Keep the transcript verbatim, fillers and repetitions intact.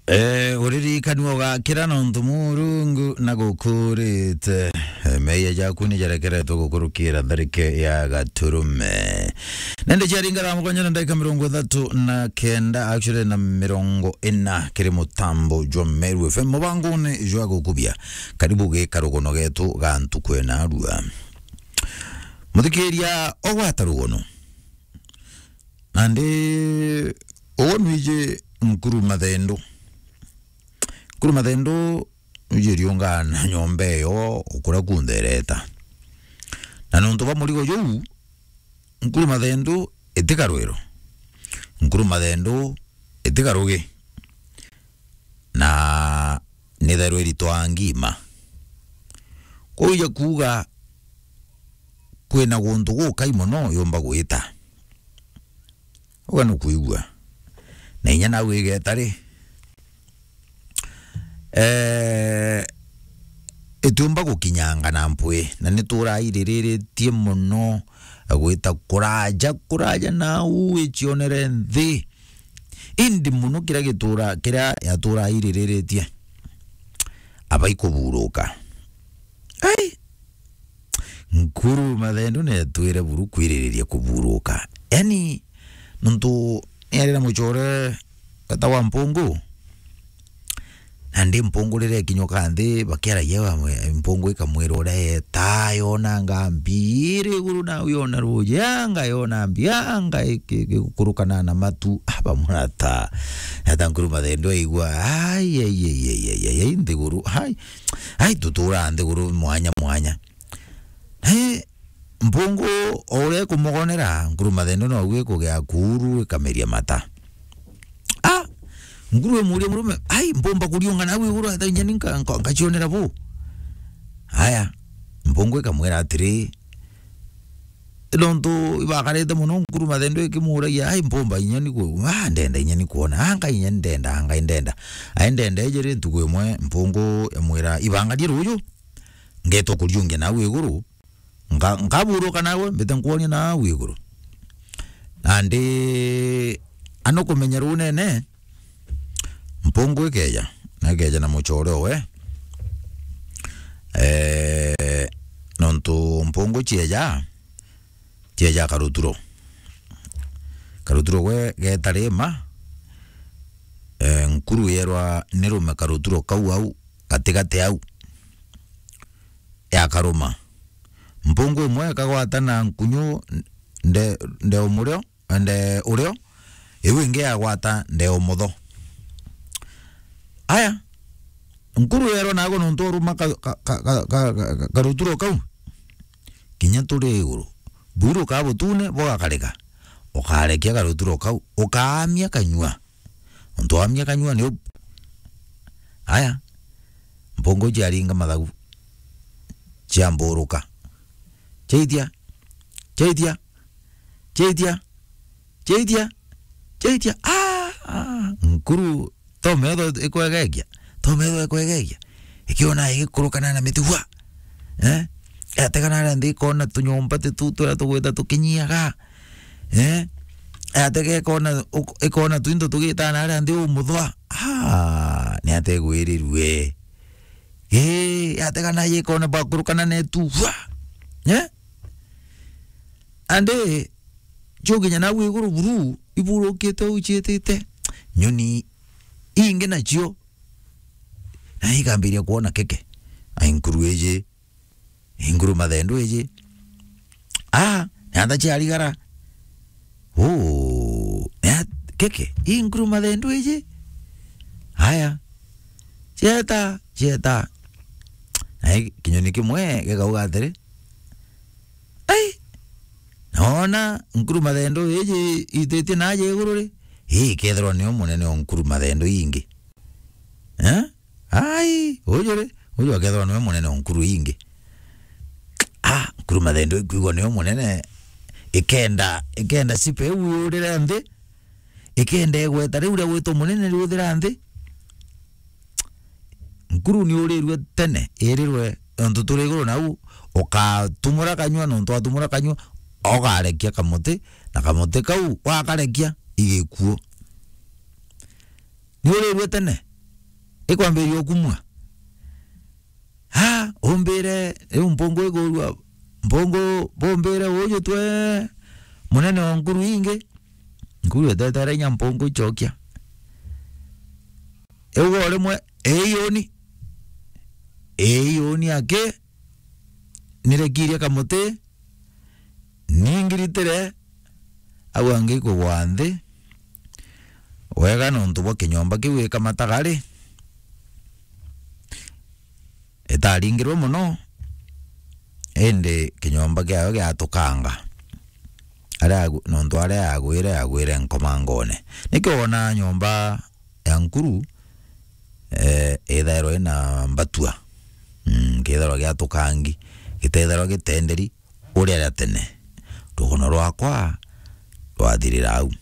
Eh, uririkanua ugakira nontu Murungu na gukurite. Eh, meeyia jaku ni jarekeretwe gukurukira tharike ya gaturume. Nende ciaringa thaa mugwanja na ndagika mirongo ithatu na kenda, actually na mirongo ina kiri mutambo jwa Meru F M mubangone jwa gukubia. Karibu gika rugono getu ga ntuku ena arua. Muthikiria, ogwata rugono. Nandi ugo nwiji Nkuru Mathendu. Nkuru Mathendu nwiji riunga na nyomba iyo ukura kunthereta. Na nontu bwa murigo juu, Nkuru Mathendu itikarwiro. Nkuru Mathendu itikarugi. Na nithairwa iritwaa ngima. Kwou ija kuuga kwina guntu gukai mono yumba gwita. Uga nukwigua. Na inya nau igeta ri, eh, itiumba gukinyanga na mpwi, na niturairiritie mono gwita kuraja, kuraja nau icionere nthi. Indi mono kiria gitura, kiria yatura aiririritie, aba ikuburuka. Ai! Nkuru Mathendu netwire buru kwiririria kuburuka. Yani, nontu niarira mucore wetagwa Mpungu, nandi Mpungu riria ikinyuka nthi, bakiaragia bamwe-, Mpungu ikamwira uria yeta, yonanga mbi iri iguru nau yona ruuji, anga yona mbi, anga iki-, iki-, ikurukana na matu, ah, bamurata. Nata Nkuru Mathendu aigua, ai, ai, ai, nthiguru, ai, ai, tutura nthiguru mwanya mwanya. He, Mpungu o uria ikumogonera, Nkuru Mathendu noguo ikugea kuuru ikameria mata. Ah! Nkuru imuuria murume, "Ai, mpumba kuriunga nau iguru ata inya ni nka-, nka-, nkacionera bu?" Aya, Mpungu ikamwira atiri, nontu ibakarite mono, Nkuru Mathendu ikimuuragia, "Ai, mpumba inya ni ku-, ah, ndenda inya ni kwona, anga inya ndenda, anga ndenda." Ai, ndenda ijiri ntuku imwe, Mpungu imwira, "Ibangarie ruuju, ngeeta kuriungia nau iguru." Nka-, nkaburuka nawe, mbite nkwonia nau iguru. Nandi, ano kumenya runene, Mpungu ikeja, na ikeja na mucore owe. Eh, nontu Mpungu cieja, cieja karuturo. Karuturo gwe geeta rima, eh, Nkuru yerwa nirume karuturo kau au, gatigati au. Yakaruma. Mpungu imwe ikagwata na nkunyu nde, nde umurio, nde urio, iu ingi yagwata nde umutho. Aya, Nkuru yerwa nago nontu uruma ka, ka, karuturo kau, kinya turi iguru. Buru ka butune bugakarika. Ukarekia karuturo kau, ukaamia kanyua. Nontu waamia kanyua ni u-, aya, Mpungu ciaringa mathagu, ciamburuka. Ciaitia, ciaitia, ciaitia, ciaitia, ciaitia. Ah, ah, Nkuru to metho ikwegegia, to metho ikwegegia. Ikiona igikurukana na miti, hua. Eh? Yategana aria nthi ikona tunyomba ti tu turia tugwita tukinyiaga. Eh? Yatega ikona, uk-, ikona twinto tugitana aria nthi umuthwa. Ah, ni ategwirirue. Eh, yategana ikona bakurukana netu. Hua. Eh? Andi, ciukinya nau iguru buru, iburukite u ciitite. Nyoni ingi nacio, na ikambiria kwona keke. Ai, Nkuru iji, i Nkuru Mathendu iji. Ah, ni ata ciarigara? Uu, ni at-, keke, i Nkuru Mathendu iji? Aya, cieta, cieta. Na i-, kinyoni kimwe gikauga atiri, "Ai, noona Nkuru Mathendu iji ititie naaja iguru ri, ii ikethirwa niyo munene o Nkuru Mathendu ingi." Eh? Ai, uju ri, uju akethirwa niwe munene o Nkuru ingi. Ah, Nkuru Mathendu ikwigwa niwe munene, ikenda, ikenda sipe iu yurire nthi, ikenda igweta riu ria gwitwa munene riuthira nthi. Nkuru ni urirue tene, irirwe, nontu turi iguru nau, ukatumura kanyua, nontu watumura kanyua, ukarekia kamuti, na kamuti kau wakarekia, igikuo. Ni urirue tene, ikwambiria ukumua. Ha, umbire, riu mpungu igurua, mpungu bumbire uju twe, munene wa nkuru ingi, nkuru etetere inya mpungu icokia. Iu o rimwe, ii yuni, ii yuni aki, nirekirie kamuti, ningiritire, au angi ikugwa nthi, wega nontu bwa kinyomba kiu gikamataga ri, itaringirwe mono, indi kinyomba kiayo giatukanga. Aria yagu-, nontu aria yagwire, yagwire nkomangone. Nikio wonaa nyomba ya nkuru, eh, ithairwa ina mbatua. Mm, kithairwa giatukangi, gitithairwa gitenderi, uria ria tene. Rugono rwakwa rwathirira au.